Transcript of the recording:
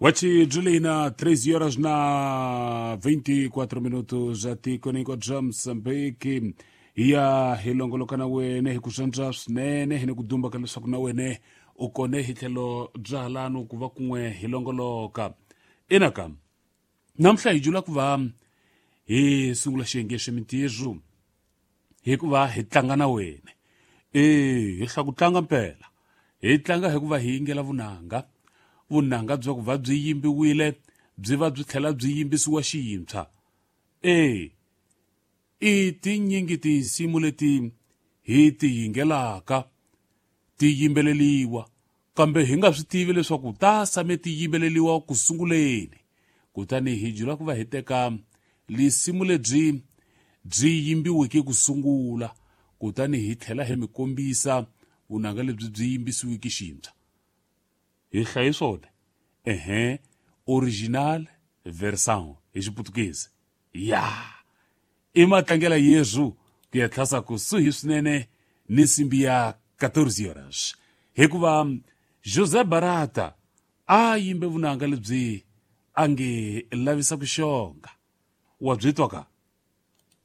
Wachi Julina, 13 horas na 24 minutos atikweni bya Mozambique. Hi ya hi longoloka na wene hi ku swantswa swinene hi ni ku dumba ka leswaku na wene u kone hi tlhelo bya halanu ku va kun'we hi longoloka. Inaka namuntlha hi jula ku va hi sungula xiyenge xa mintirho hikuva hi tlanga na wene. E hi hla ku tlanga mpela, hi tlanga hikuva hi yingela vunanga, vunanga bya ku va byi yimbiwile byi va byi tlhela byi yimbisiwa xiyintshwa. E i tinyingi tinsimu leti hi ti yingelaka ti yimbeleliwa, kambe hi nga swi tivi leswaku ta same ti yimbeleliwa ku sunguleni. Kutani hi jula ku va hi teka lisimu lebyi byi yimbiweke ku sungula, kutani hi tlhela hi mi kombisa vunanga lebyi byi yimbisiweke xintshwa. Hi hlaye swona, ehe, original version hi Xiputukezi. Ya i matlangela Yesu ku ya tlhasa kusuhi swinene ni nsimbi ya 14 horas, hikuva José Barata a yimbe vunanga lebyi a nge lavisa ku xonga. Wa byi twa ka?